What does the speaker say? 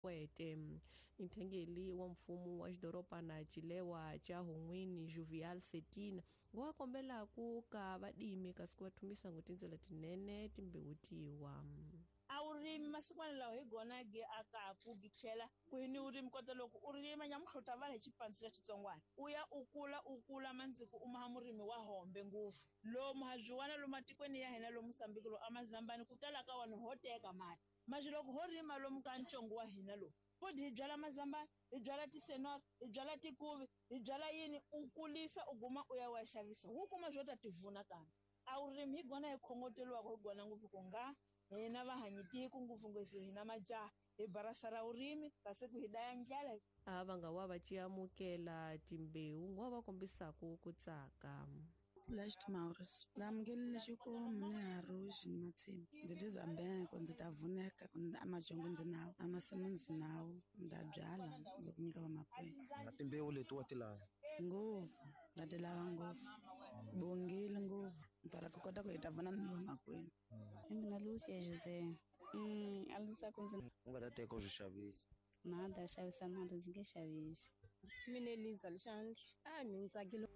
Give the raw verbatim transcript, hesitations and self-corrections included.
Kwete. Nthengeli wa mfumo wa xidorobana Chilewa cha Hungwini Jovial Setina ngo kombela ku ka vadimi kasi ku va thumisa ngo tindzela tinene timbewu tiwa. A wu rimi masikwana lawa hi gona ge akaku gi tlhela ku ni u rimi kota loko u rima nyamuhla va hi xipandzi xa xitsongwana u ya u kula u kula mandziko u maha murimi wa hombe ngopfu lomu ha byiwana lomu matikweni ya hina lomu Mozambique lo amazambani ku tala ka vanhu ho teka mati manje loko ho rima lomu ka ntsongo wa hina lowu futhi hi byala mazambani hi byala tisenora hi byala tikuvi hi byala yini u kulisa u guma u ya wa xavisa wu kuma byo ta tivuna kambe a wu rimi hi gona hi khongoteliwaka hi gona ngopfu ku nga hina vahanyitiko ngopfungopfu hina majaha hi barasa ra urimi kasi ku hi daya ndlela. A va nga wa va amukela timbewu ngo va kombisaku ku tsaka. Celeste Maurice ndamukelile xikomu ni haruxi ni matsima ndzi tizwa mbeko ndzi ta vuneka amajongo ndzi nawo amasimu ndzi nawo nda byala ndzi ku nyika vamakwenu. Na timbewu leti wa ti lava ngopfu nga ti lava ngopfu bongile ngopfu para ku kota ku hi ta vona ni vamakwenu. Mina Lucia Jose mm a ndzi tsaka ndzi u nga ta teka u swi xavisa na da xavisa na ndzi nge xavisi. Mina Eliza Lixandla a mi ntsakile.